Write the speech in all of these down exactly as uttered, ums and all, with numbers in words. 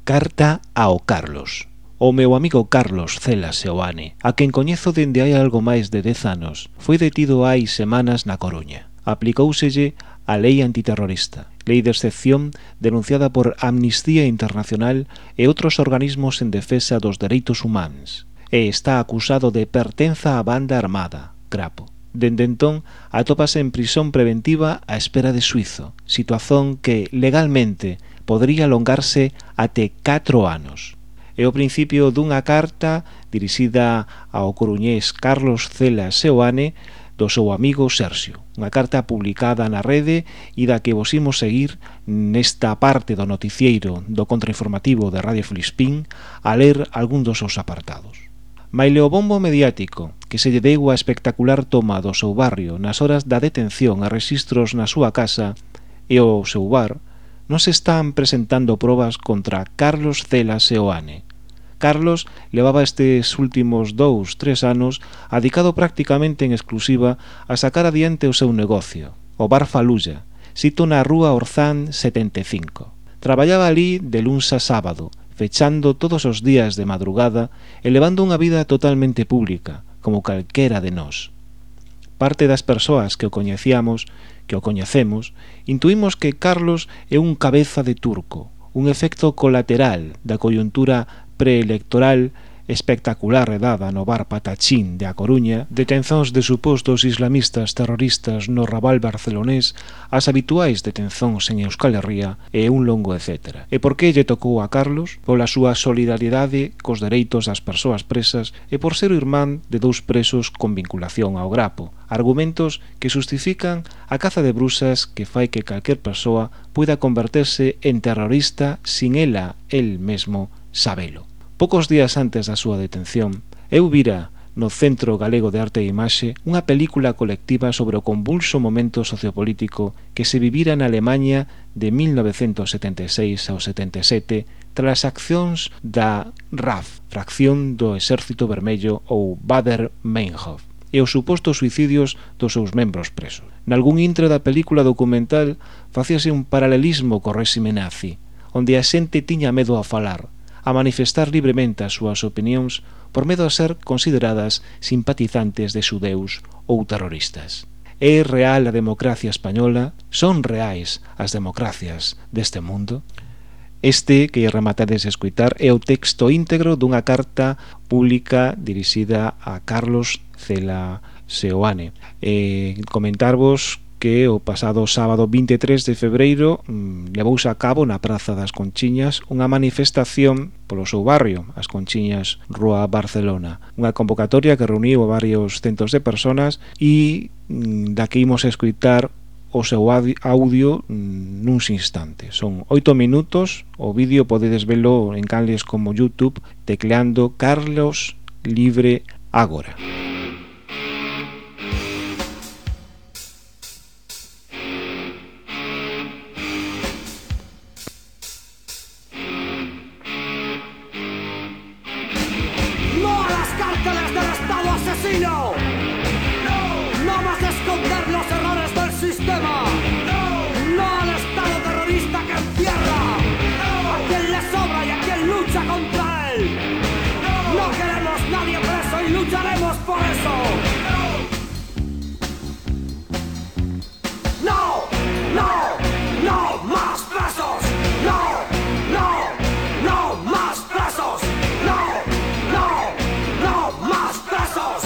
Carta ao Carlos. O meu amigo Carlos Cela Seoane, a quen coñezo dende hai algo máis de dez anos, foi detido hai semanas na Coruña. Aplicóuselle a lei antiterrorista, lei de excepción denunciada por Amnistía Internacional e outros organismos en defensa dos dereitos humanos, e está acusado de pertenza á banda armada, Crapo. Dende entón, atópase en prisión preventiva á espera de xuízo, situación que, legalmente, podría alongarse até catro anos. É o principio dunha carta dirixida ao coruñés Carlos Cela Seoane do seu amigo Sergio. Unha carta publicada na rede e da que vos imos seguir nesta parte do noticieiro do contrainformativo de Radio Filispín a ler algún dos seus apartados. Maile o bombo mediático que se lle deu a espectacular toma do seu barrio nas horas da detención a registros na súa casa e o seu bar, non se están presentando probas contra Carlos Cela Seoane. Carlos levaba estes últimos dous, tres anos adicado prácticamente en exclusiva a sacar adiante o seu negocio, o Bar Falulla, sito na rúa Orzán setenta e cinco. Traballaba ali de luns a sábado, fechando todos os días de madrugada e levando unha vida totalmente pública, como calquera de nós. Parte das persoas que o coñecíamos, que o coñecemos, intuímos que Carlos é un cabeza de turco, un efecto colateral da coyuntura preelectoral espectacular redada no bar Patachín de A Coruña, detencións de supostos islamistas terroristas no Raval barcelonés, as habituais detencións en Euskal Herria e un longo etcétera. E por que lle tocou a Carlos? Pola súa solidaridade cos dereitos das persoas presas e por ser o irmán de dous presos con vinculación ao Grapo. Argumentos que justifican a caza de brusas que fai que calquer persoa pueda converterse en terrorista sin ela, el mesmo, sabelo. Poucos días antes da súa detención, eu vira no Centro Galego de Arte e Imaxe unha película colectiva sobre o convulso momento sociopolítico que se vivira na Alemanha de mil novecentos setenta e seis ao setenta e sete tras as accións da R A F, fracción do Exército Vermello ou Baader-Meinhof, e os supostos suicidios dos seus membros presos. Nalgún intre da película documental facíase un paralelismo co réxime nazi, onde a xente tiña medo a falar, a manifestar libremente as súas opinións por medo a ser consideradas simpatizantes de xudeus ou terroristas. É real a democracia española? Son reais as democracias deste mundo? Este, que rematades a escutar, é o texto íntegro dunha carta pública dirixida a Carlos Cela Seoane. E comentarvos que o pasado sábado vinte e tres de febreiro mmm, levouse a cabo na Praza das Conchiñas unha manifestación polo seu barrio, as Conchiñas, Rúa Barcelona. Unha convocatoria que reuniu a varios centos de personas e mmm, da que imos a escutar o seu audio mmm, nuns instantes. Son oito minutos, o vídeo podedes velo en canles como YouTube tecleando Carlos Libre Agora. ¡No! ¡No más esconder los errores del sistema! ¡No! ¡No al Estado terrorista que encierra! ¡No! ¡A quien le sobra y a quien lucha contra él! ¡No! ¡No queremos nadie preso y lucharemos por eso! ¡No! ¡No! ¡No más presos! ¡No! ¡No! ¡No más presos! ¡No! ¡No! ¡No más presos!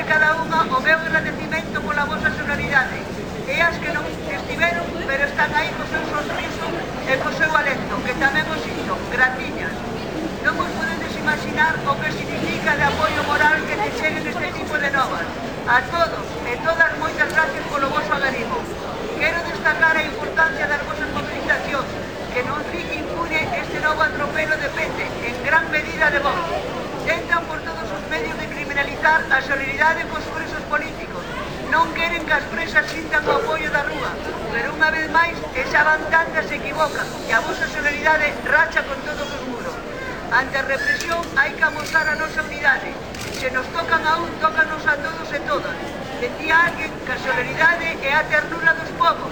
cada unha o meu agradecimento pola vosa solidaridade. E as que non estiveron, pero están aí co seu sorriso e co seu alento, que tamén os sinto. Gratiñas. Non vos podedes imaginar o que significa de apoio moral que te cheguen este tipo de novas. A todos e todas, moitas gracias polo voso agarimo. Quero destacar a importancia das vosas movilizacións, que non fique impune este novo atropelo depende, en gran medida de vos. Tentan por todos os medios de criminalizar a solidaridade cos presos políticos. Non queren que as presas sintan o apoio da rúa, pero unha vez máis esa bandanda se equivoca e a vosa solidaridade racha con todos os muros. Ante a represión hai que amosar a nosa unidade. Se nos tocan a un, tócanos a todos e todas. Decía alguén que a solidaridade é a ternura dos povos.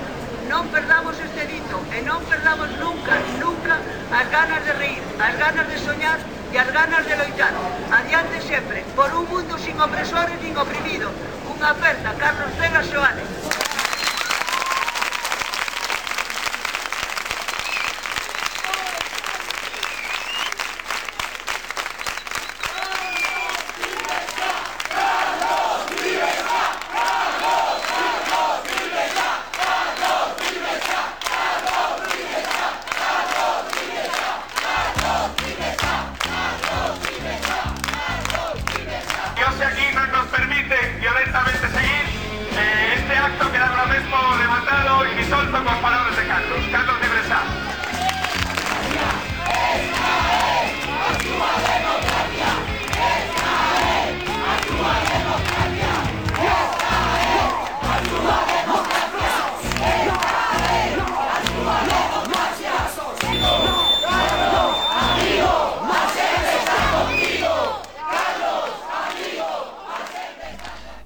Non perdamos este dito e non perdamos nunca, nunca as ganas de reír, as ganas de soñar e as ganas de loitar. Adiante sempre, por un mundo sin opresores nin oprimidos. Unha aperta, Carlos Cela Seoane.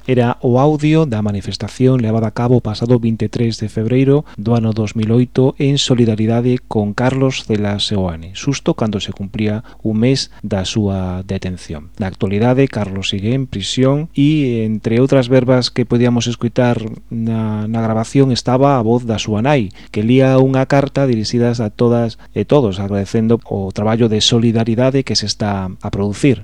Era o audio da manifestación levada a cabo o pasado vinte e tres de febreiro do ano dos mil oito en solidaridade con Carlos Cela Seoane, xusto cando se cumplía un mes da súa detención. Na actualidade, Carlos sigue en prisión e, entre outras verbas que podíamos escutar na, na grabación, estaba a voz da súa nai, que lía unha carta dirixidas a todas e todos, agradecendo o traballo de solidaridade que se está a producir.